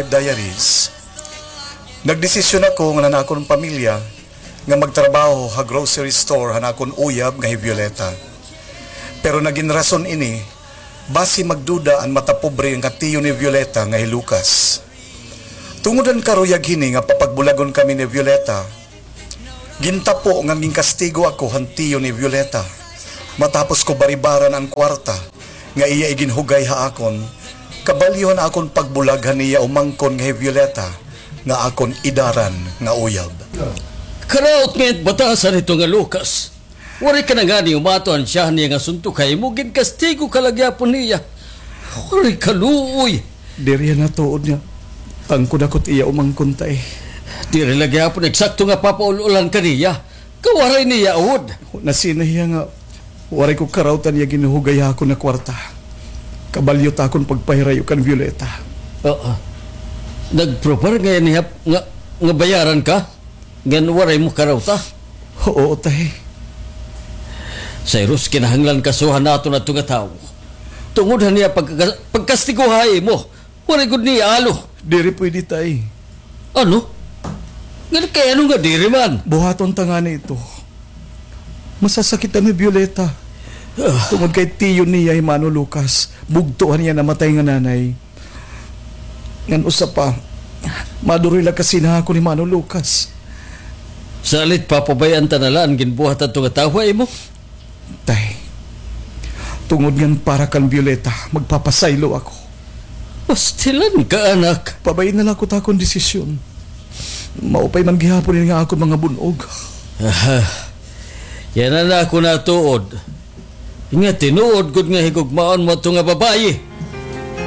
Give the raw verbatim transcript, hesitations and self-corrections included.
Diaries, nagdesisyon ako ngan an akon pamilya nga magtrabaho ha grocery store han akon uyab nga hi Violeta. Pero nagin rason ini basi magduda an matapobre nga tiyo ni Violeta nga hi Lucas. Tungod han karuyag hini nga papagbulagon kami ni Violeta, gintapo ngan ginkastigo ako han tiyo ni Violeta matapos ko baribaran an kwarta nga iya iginhugay ha akon, kabalyo han akon pagbulag han iya umangkon nga hi Violeta nga akon idaran nga uyab. Karaot nga it batasan hito nga Lucas. Waray ka na ngani umato han siyahan niya nga suntok ha imo, ginkastigo ka la gihapon niya. Waray ka luoy. Diri yana tuod nga tangkod ako it iya umangkon, tay. Diri la gihapon eksakto nga papaul-ulan ka niya. Kawaray niya awod. Nasina hiya nga waray ko karawtan iya ginhugay ha akon nga kwarta. Kabalyo it akon pagpahirayo kan Violeta. Oo. Nagprobar ngay-an hiya nga, nga bayaran ka? Ngan waray mo karawta? Oo, tay. Cyrus, kinahanglan kasuhan naton adto nga tawo. Tungod han iya pagka-, pagkastigo ha imo, waray gud niya alo. Diri pwede, tay. Ano? Ngan kay ano nga diri man? Buhaton ta ngani ito. Masasakit an hi Violeta. Ah. Tungod kay tiyo niya hi Mano Lucas, bugto han iya namatay nga nanay. Ngan usa pa, maduro la kasina ha akon hi Mano Lucas. Salit, papabay-an ta na la an ginbuhat hadto nga tawo ha imo? Tay, tungod ngan para kan Violeta, magpapasaylo ako. Pastilan ka, anak. Pabay-i na la ako it akon desisyon. Maupay man gihapon ini nga akon mga bun-og. Aha. Yana an ako natuod. Nga tinuod gud nga higugmaon mo adto nga babaye.